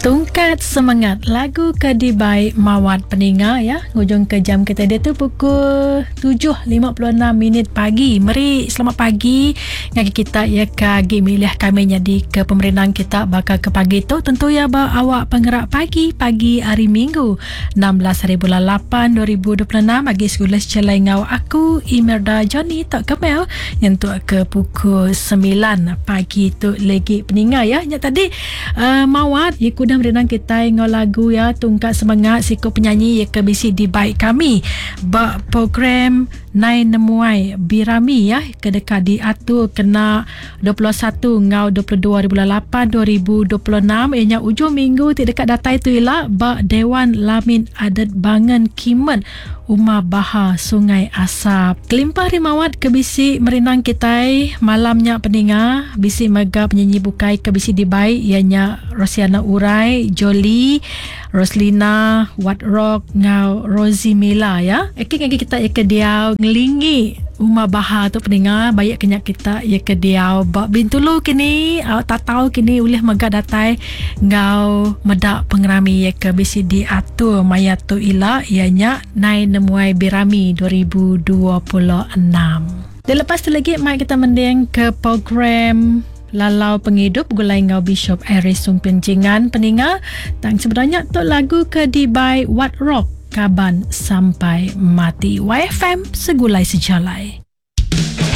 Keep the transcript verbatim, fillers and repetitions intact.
Tungkat semangat lagu ke dibai Mawat peninga ya. Ngujung ke jam kita dia tu pukul tujuh lima puluh enam minit pagi. Meri selamat pagi ngagi kita ya ke agi milih kami jadi ke pemerindang kita bakal ke pagi tu tentu ya ba awak penggerak pagi pagi hari Minggu enam belas hari bulan lapan dua ribu dua puluh enam agi sekolah celai ngau aku Imelda Johnny tak kemel nyentuk ke pukul sembilan pagi tu lagi peninga ya. Nya tadi uh, Mawat ya kuda merenang kita ngau lagu ya tungkat semangat siko penyanyi ya ke bisi di baik kami ba program Nai Nemuai Birami ya ke dekat diatur kena dua puluh satu ngau dua puluh dua hari bulan lapan dua ribu dua puluh enam ianya ujung minggu ti dekat datai tu ila ba Dewan Lamin Adat Bangan Kimet Umar Bahar Sungai Asap. Kelimpah rimawat ke bisi merinang kitai malamnya peninga bisi mega penyanyi bukai ke bisi dibai ianya Rosiana Urai, Jolie, Roslina, Wat Rock ngau Rosie Mila ya. Eki ngagi kita ya ke diau ngelingi Umar Bahar tu peninga baik kenyak kita ya ke diau ba Bintulu kini tatau kini ulih mega datai ngau medak pengerami ya ke bisi diatur maya tu ila ianya Nai Nemuai Birami dua ribu dua puluh enam. Dan lepas tu lagi mai kita mending ke program Lalau Penghidup gulai ngau Bishop Aris Sumpin Jingan peninga. Tang sebenarnya tu lagu ke dibai What Rock Kaban Sampai Mati. Y F M segulai sejalai.